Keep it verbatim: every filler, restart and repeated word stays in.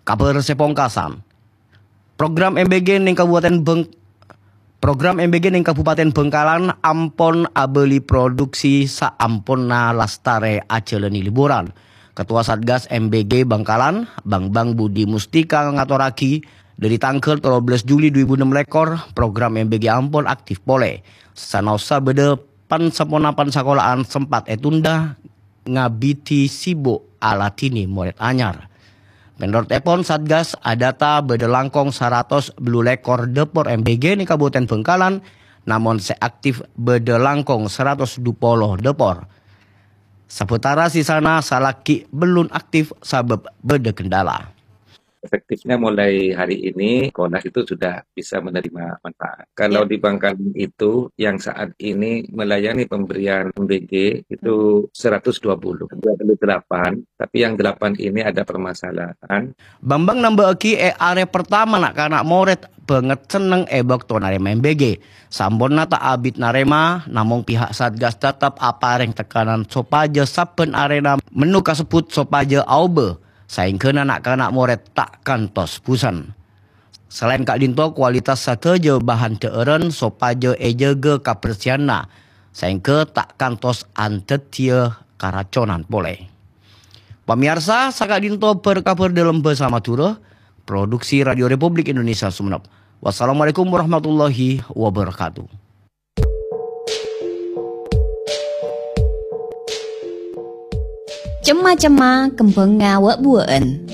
Kabhâr sè pongkasan. Program M B G neng Kabupaten Beng-, program M B G neng Kabupaten Bangkalan ampon abâli produksi saamponna lastarè ajhâlâni liburan. Ketua Satgas M B G Bangkalan, Bambang Budi Mustika ngatorraghi, dhâri tangghâl tello bellâs Juli dua ribu ennem lèkor, program M B G ampon aktif polè. Sanaossa bâdâ pan-saponapan sakola'an sempat ètunda, ngabidi sibuk aladhini morèd anyar. Mènorot èpon, Satgas adata bâdâ langkong saratos bâllu lèkor dâpor M B G neng Kabupaten Bangkalan, namong sè aktif bâdâ langkong saratos dupolo dâpor. Sabâtara sisana salaghi bellun aktif sabâb bâdâ kendala. Efektifnya mulai hari ini, sekolah itu sudah bisa menerima manfaat. Kalau di Bangkalan itu, yang saat ini melayani pemberian M B G itu seratus dua puluh, dua puluh delapan, tapi yang delapan ini ada permasalahan. Bambang nambâ'aghi, è arè pertama na'-kana' morèd bângèt senneng è bâkto narèma M B G. Samponna ta' abit narèma, namong pihak Satgas tetep aparèng tekanan sopajâ sabbhân arèna menu kasebbhut sopajâ aobâ, saèngghâna na'-kana' morèd ta' kantos busen. Salaèn ka'dinto, kualitas sadhâjâ bahan dhâ'ârân sopajâ èjâgâ kabersihanna, saèngghâ ta' kantos andhâddhiyâ karaconan polè. Pamèyarsa, saka'dinto bhâr-kabhâr dâlem bhâsa Madhurâ, produksi Radio Republik Indonesia Sumenep. Wassalamualaikum warahmatullahi wabarakatuh. Cemma-cemma kembhângnga wâ'-buwâ'ân.